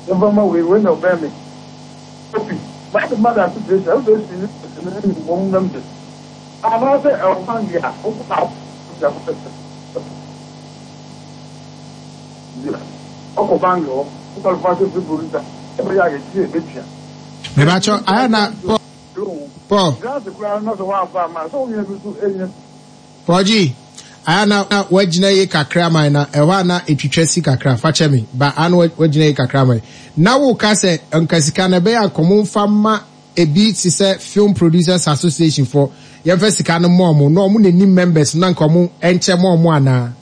Yɛmfa mma wei, wei na ɔbɛn me. Opi, M'ade mother situation, association ne ne ne wɔn members. Anaasɛ ɛwɔ bank a wokɔ a wokɔ ɔkɔ bank hɔ, wo qualify sɛ film producer, ɛbɛyɛ a yɛgye sɛ yɛbɛtua. Mebakyɛw ayɛ na Paul. Grant koraa no na sɛ woamfa amma a, sɛ wo nua bi nso nya bi. Paul G, ayɛ na woagyina yie kakra man na ɛhɔ a na ɛtwitwa si kakra, fa kyɛ me, ba a na woagyina yie kakra man. Na woka sɛ nka sika no ɛbɛyɛ a nka ɔmo mfa mma ebi te sɛ Film Producers Association foɔ, yɛmfa sika no mma ɔmo na ɔmo na ɛnim members no na nka ɔmo nkyɛ ma ɔmo anaa?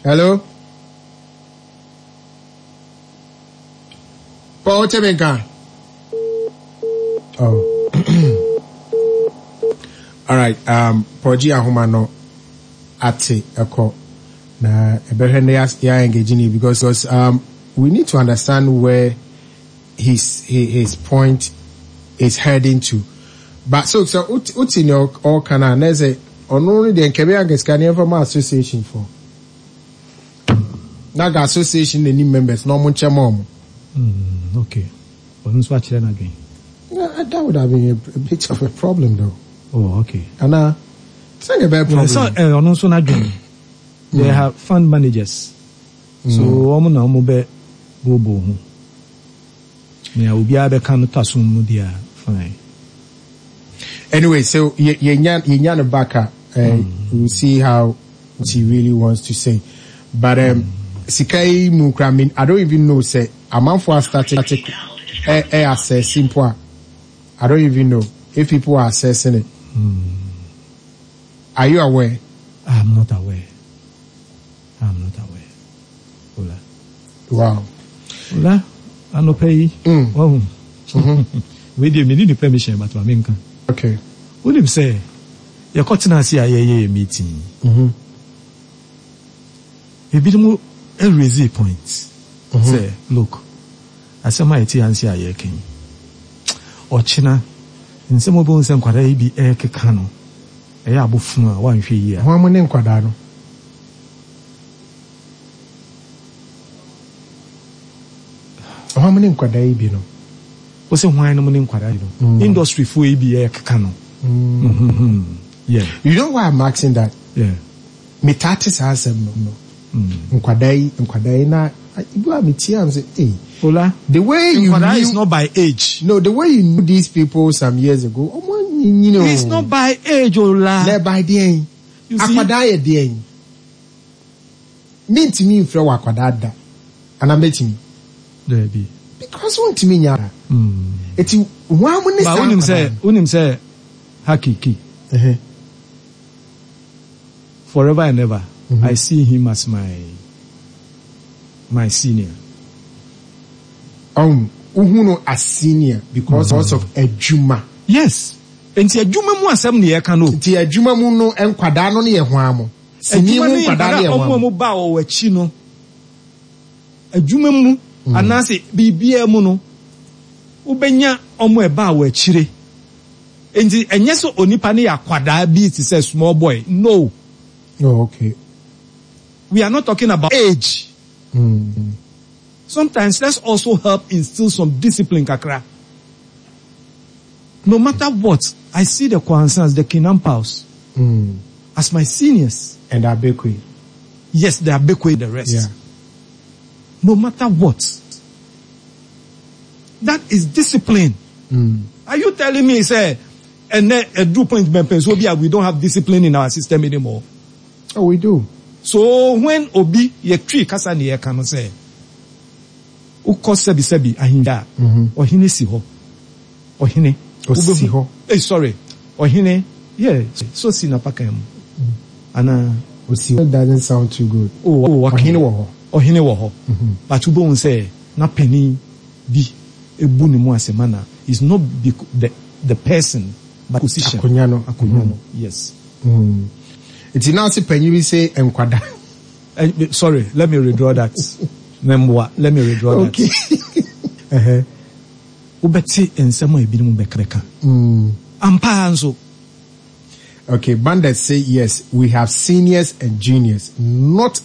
Hello? Paul, wote me nka? Oh. All right, Paul G. Ahoma no ate ɛkɔ na ɛbɛhwɛ no yɛ engage ni because we need to understand where his point is heading to. But so so wote ne ɔka no a na ɛsɛ ɔno no deɛ nkɛbɛyɛ anka sika ne ɛmfa ma association for. Na ga association na nim members na ɔmo nkyɛ ma ɔmo. Mm, okay. Ɔno nso akyerɛ n'adwene. Yeah, that would have been a bit of a problem though. Oh, okay. Ana, sɛ nka ɛbɛyɛ problem. Sɛ eh, ɔno nso n'adwene. They have fund managers. So ɔmo na ɔmo bɛ booboo ho. Nea obiara bɛka no tɔ asom mu deɛ a, fine. Anyway, so yɛnya yɛnya no back a, we'll see how what he really wants to say. But sika yi mu kura me, I don't even know sɛ amanfo a start ɛ ɛ assess mpo a, I don't even know if people are assessing it. Are you aware? I'm not aware. I'm not aware. Ola. Wow. Ola, anɔpa yi, wahu. Wei deɛ menni ne permission but ma menka. Okay. Wonim sɛ yɛkɔtena ase a yɛyɛ yɛ meeting yi, ebinom raise point sɛ look, asɛm a yɛte anse a yɛreka yi, ɔkyena nsɛm a wobɛhu sɛ nkwadaa yi bi rekeka no, ɛyɛ abofono a woanhwɛ yie a. Hwan mo ne nkwadaa no? Hwan mo ne nkwadaa yi bi no? Wo se hwan nom ne nkwadaa yi no? Industry foɔ yi bi ɛkeka no. Yeah. You know why I'm asking that? Yeah. Me taa te saa asɛm no no. Nkwadaa yi, nkwadaa yi na ebi a me tie am say, hey. Ola. The way you Nkwadaa knew, is not by age. No, the way you knew these people some years ago, ọmọ anyinyini o. It's not by age, Ola. Na by deɛn? You see? Akwadaa yɛ deɛn? Mintumi nfrɛ wɔ akwadaa da. Anaa mɛtumi? Daabi. Because wontumi nyɛ ara. Eti wɔn mo ne Ba saa wonim sɛ akwadaa no. wonim sɛ Hakiki. Forever and ever I see him as my my senior. Ɔn, wohu no as senior because of adwuma. Yes, nti adwuma mu asɛm na yɛka no o. Nti adwuma mu no nkwadaa no ne yɛ hwan mo? Sini Adwuma mu ne nkwadaa nkwadaa no yɛ a hwan wɔn a mo? wɔba wɔ akyi no, adwuma mu anaasɛ biribiara mu no, wobɛnya wɔn a ɛbaa wɔ akyire. Nti ɛnyɛ sɛ onipa no yɛ akwadaa bi te sɛ small boy, no. Oh, okay. We are not talking about age. Sometimes let's also help instill some discipline kakra. No matter what, I see the Kwansans, the Kinampaos as my seniors. And Abekwe. Yes, the Abekwe, the rest. Yeah. No matter what. That is discipline. Are you telling me, say, and then a due point, Obi, we don't have discipline in our system anymore? Oh, we do. So when Obi, ye tree kasa ni ye kano say, ukɔ sɛbi sɛbi ahinda, ɔhene si hɔ, ɔhene. Osi hɔ. Hey, sorry, ɔhene, yeah, so si na paka mu. Ana. Osi hɔ doesn't sound too good. Oh, okay. Ɔhene wɔ hɔ. Ɔhene wɔ hɔ. But wobɛhu sɛ na panin bi ebu ne mu asɛm ana is not the person but position. Akonya no. Akonya no, yes. Nti na ase panyin bi sɛ nkwada. Sorry, let me withdraw that. Memboa, let me withdraw that. Okay. Wobɛte nsɛm a ebinom bɛka. Ampa nso. Okay, Bandit say yes, we have seniors and juniors, not.